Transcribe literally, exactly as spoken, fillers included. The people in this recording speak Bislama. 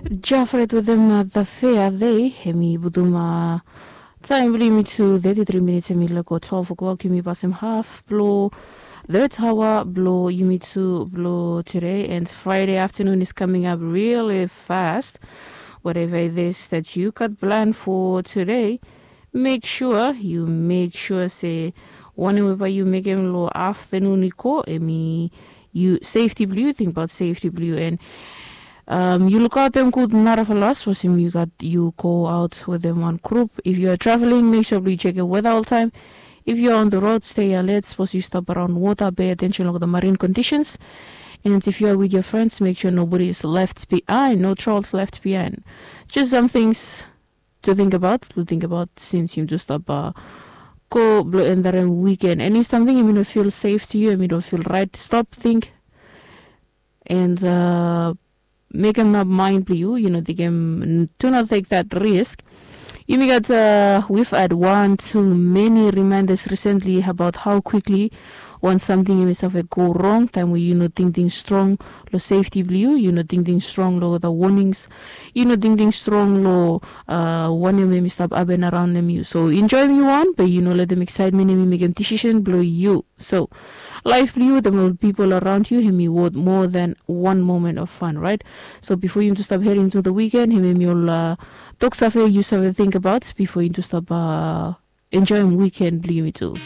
Jafret wetem the fair day, hemi putum taem blong yumi tu thirty-three minutes, hemi lego twelve o'clock. Yumi pasem half blong third hour blong yumi tu blong today, and Friday afternoon is coming up really fast. Whatever it is that you got planned for today, make sure you make sure se wanem eva yu mekem long afternoon i go, hemi yu safety blong yu, tingbaot safety blong yu, and um, yu lukaotem gud narafala sapos yu gat yu go aot wetem wan grup. If yu are traveling, make sure blong yu jekem weta oltaem. If yu are on the road, stay alert. Sapos yu stap araon wota, pay attention long the marine conditions. And if you are with your friends, make sure nobody is left behind, no trolls left behind. Just some things to think about, to think about since yumi tu stap uh, go blong endarem weekend. And if something yumi no feel safe to you, yumi no feel right, stop, think, and uh, mekem nap mind blong yu, yu no tingem, do not take that risk. Yumi gat uh, we've had one too many reminders recently about how quickly wan samting yumi save go wrong taem we yu no tingting strong long safety blong yu, yu no tingting strong long the warnings, yu no tingting strong long uh, wanem hemi stap hapen araonem yu. So enjoem yu wan, be yu no letem excitement hemi mekem decision blong yu. So laef blong yu, the more people around you, hemi worth more than one moment of fun, right? So before yumi tu stap heading to the weekend, hemi hemi ol uh, tok save yu save think about before yumi tu stap uh, enjoem weekend blong yumi tu.